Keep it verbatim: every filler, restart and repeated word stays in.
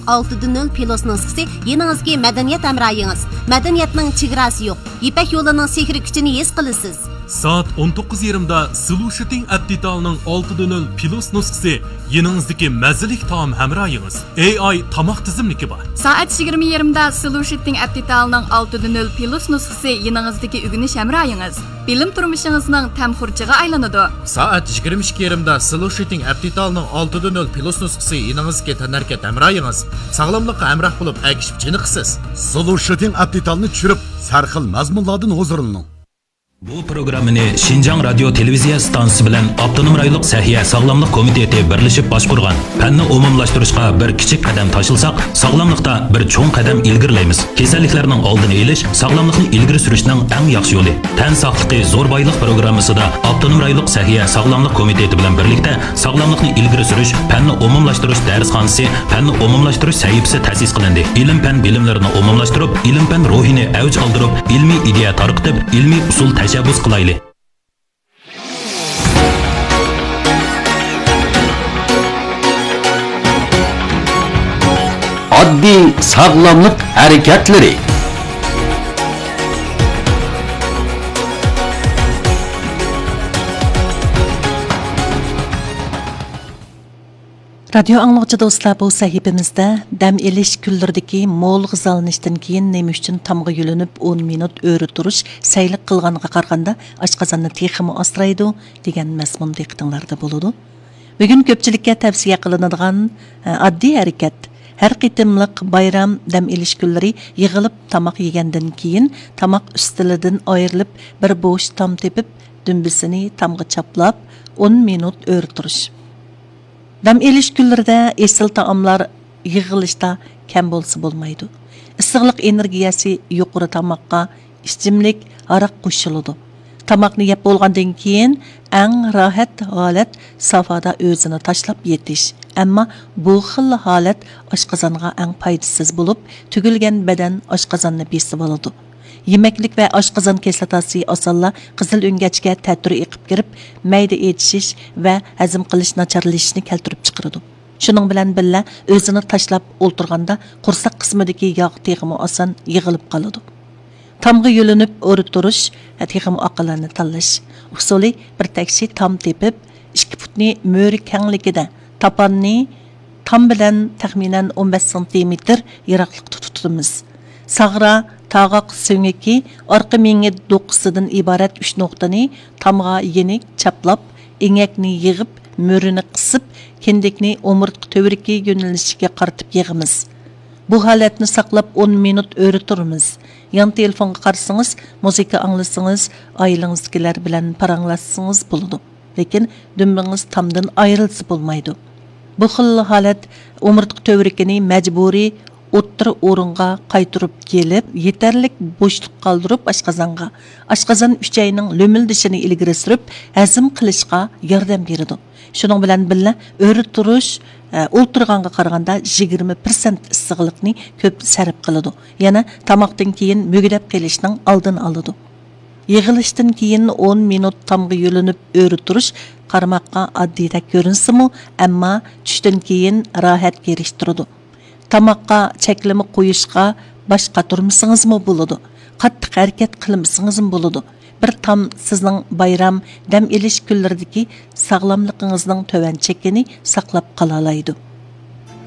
ئالتە دە نۆل پلۇس نۇسخىسى يېنىڭىزدىكى مەدەنىيەت ھەمراھىڭىز. مەدەنىيەتنىڭ چېگراسى يوق. يىپەك يولىنىڭ سېھرىي كۈچىنى ھېس قىلىسىز. سائەت ئون توققۇز يېرىمدا سلۇ شىتىڭ ئەپ دېتالىنىڭ ئالتە دە نۆل پلۇس نۇسخىسى يېنىڭىزدىكى مەززىلىك تائام ھەمراھىڭىز. ئېي ئاي تاماق تىزىملىكى بار. سائەت يىگىرمە يېرىمدا سلۇ شىتىڭ ئەپ دېتالىنىڭ ئالتە دە نۆل پلۇس نۇسخىسى يېنىڭىزدىكى ئۆگىنىش ھەمراھىڭىز. بىلىم تۇرمۇشىڭىزنىڭ تەم خۇرجىنىغا ئايلىنىدۇ. سائەت يىگىرمە ئىككى يېرىمدا سلۇ شىتىڭ ئەپ دېتالىنىڭ ئالتە دە نۆل پلۇس نۇسخىسى يېنىڭىزدىكى تەنھەرىكەت ھەمراھىڭىز. ساغلاملىققا ھەمراھ بولۇپ، ئەگىشىپ چېنىقىسىز. سلۇ شىتىڭ ئەپ دېتالىنى چۈشۈرۈپ، سەرخىل مەزمۇنلاردىن ھۇزۇرلىنىڭ. بۇ پروگراممىنى شىنجاڭ رادىيو تېلېۋىزىيە ئىستانسىسى بىلەن ئاپتونوم رايونلۇق سەھىيە ساغلاملىق كومىتېتى بىرلىشىپ باشقۇرغان. پەننى ئومۇملاشتۇرۇشقا بىر كىچىك قەدەم تاشلىساق، ساغلاملىقتا بىر چوڭ قەدەم ئىلگىرىلەيمىز. كېسەللىكلەرنىڭ ئالدىنى ئېلىش، ساغلاملىقنى ئىلگىرى سۈرۈشنىڭ ئەڭ ياخشى يولى. تەن ساقلىقى زور بايلىق پروگراممىسىدا ئاپتونوم رايونلۇق سەھىيە ساغلاملىق كومىتېتى بىلەن بىرلىكتە ساغلاملىقنى ئىلگىرى سۈرۈش، پەننى ئومۇملاشتۇرۇش دەرسخانىسى، پەننى ئومۇملاشتۇرۇش سەھىپىسى تەسىس قىلىندى. ئىلىم-پەن بىلىملىرىنى ئومۇملاشتۇرۇپ، ئىلىم-پەن روھىنى ئەۋج ئالدۇرۇپ، ئىلمىي ئىدىيە تارقىتىپ، ئىلمىي ئۇسۇل تەشەببۇس قىلايلى. ئاددىي ساغلاملىق ھەرىكەتلىرى. رادىيو ئاڭلىغۇچى دوستلار، بۇ سەھىپىمىزدە دەم ئېلىش كۈنلىرىدىكى مول غىزالىنىشتىن كېيىن نېمە ئۈچۈن تامغا يۆلىنىپ ئون مىنۇت ئۆرە تۇرۇش سەيلىك قىلغانغا قارىغاندا ئاشقازاننى تېخىمۇ ئاسرايدۇ دېگەن مەزمۇن دىققىتىڭلاردا بولىدۇ. بۈگۈن كۆپچىلىككە تەۋسىيە قىلىنىدىغان، ئە، ئاددىي ھەرىكەت. ھەر قېتىملىق بايرام، دەم ئېلىش كۈنلىرى يىغىلىپ تاماق يېگەندىن كېيىن تاماق ئۈستىلىدىن ئايرىلىپ، بىر بوش تام تېپىپ، دۈمبىسىنى تامغا چاپلاپ، ئون مىنۇت ئۆرە تۇرۇش. دەم ئېلىش كۈنلىرىدە ئېسىل تائاملار يىغىلىشتا كەم بولسا بولمايدۇ. ئىسسىقلىق ئېنېرگىيەسى يۇقىرى تاماققا ئىچىملىك، ھاراق قوشۇلىدۇ. تاماقنى يەپ بولغاندىن كېيىن ئەڭ راھەت ھالەت سافادا ئۆزىنى تاشلاپ يېتىش. ئەمما بۇ خىل ھالەت ئاشقازانغا ئەڭ پايدىسىز بولۇپ، تۈگۈلگەن بەدەن ئاشقازاننى بېسىۋالىدۇ. يېمەكلىك ۋە ئاشقازان كىسلاتاسى ئاسانلا قىزىل ئۆڭگەچكە تەتۈر ئېقىپ كىرىپ، مەيدە ئېچىشىش ۋە ھەزىم قىلىش ناچارلىشىشنى كەلتۈرۈپ چىقىرىدۇ. شۇنىڭ بىلەن بىللە، ئۆزىنى تاشلاپ ئولتۇرغاندا قورساق قىسمىدىكى ياغ تېخىمۇ ئاسان يىغىلىپ قالىدۇ. تامغا يۆلىنىپ ئۆرە تۇرۇش تېخىمۇ ئاقىلانە تاللاش ئۇسۇلى. بىر تەكشى تام تېپىپ، ئىككى پۇتنى مۈرە كەڭلىكىدە، تاپاننى تام بىلەن تەخمىنەن ئون بەش سانتىمېتىر يىراقلىقتا تۇتىمىز. ساغرا، تاغاق سۆڭىكى، ئارقا مېڭە دوقىسىدىن ئىبارەت ئۈچ نۇقتىنى تامغا يېنىك چاپلاپ، ئېڭەكنى يىغىپ، مۈرىنى قىسىپ، كىندىكنى ئومۇرتقا تۈۋرۈكى يۆنىلىشىگە قارىتىپ يىغىمىز. بۇ ھالەتنى ساقلاپ ئون مىنۇت ئۆرە تۇرىمىز. يان تېلېفونغا قارىسىڭىز، مۇزىكا ئاڭلىسىڭىز، ئائىلىڭىزدىكىلەر بىلەن پاراڭلاشسىڭىز بولىدۇ. لېكىن دۈمبىڭىز تامدىن ئايرىلسا بولمايدۇ. بۇ خىل ھالەت ئومۇرتقا تۈۋرۈكىنى مەجبۇرىي ئوتتۇرا ئورۇنغا قايتۇرۇپ كېلىپ، يېتەرلىك بوشلۇق قالدۇرۇپ ئاشقازانغا، ئاشقازان ئۈچەينىڭ لۆمۈلدىشىنى ئىلگىرى سۈرۈپ، ھەزىم قىلىشقا ياردەم بېرىدۇ. شۇنىڭ بىلەن بىللە، ئۆرە تۇرۇش، ئە، ئولتۇرغانغا قارىغاندا يىگىرمە پىرسەنت ئىسسىقلىقنى كۆپ سەرپ قىلىدۇ. يەنە تاماقتىن كېيىن مۈگدەپ قېلىشنىڭ ئالدىنى ئالىدۇ. يىغىلىشتىن كېيىن ئون مىنۇت تامغا يۆلىنىپ ئۆرە تۇرۇش قارىماققا ئاددىيدەك كۆرۈنسىمۇ، ئەمما چۈشتىن كېيىن راھەت كېرىشتۈرىدۇ. تاماققا چەكلىمە قويۇشقا باش قاتۇرمىسىڭىزمۇ بولىدۇ. قاتتىق ھەرىكەت قىلمىسىڭىزمۇ بولىدۇ. بىر تام سىزنىڭ بايرام، دەم ئېلىش كۈنلىرىدىكى ساغلاملىقىڭىزنىڭ تۆۋەن چېكىنى ساقلاپ قالالايدۇ.